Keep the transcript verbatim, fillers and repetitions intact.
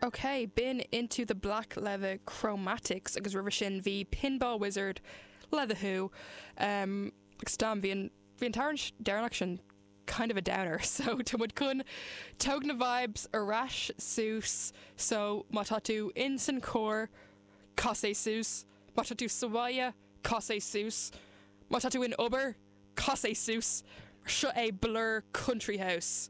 Ok, b'in Into the Black le The Chromatics agus roimhe sin bhí Pinball Wizard le The Who. Um, agus dam bhí an bhí an t-amhrán deireanach sin kind of a downer, so tá muid chun tóg na vibes ar ais suas so má tá tú in san carr cas é suas, má tá tú sa bhaile cas é suas, má tá tú in obair cas é suas, seo é Blur Country House.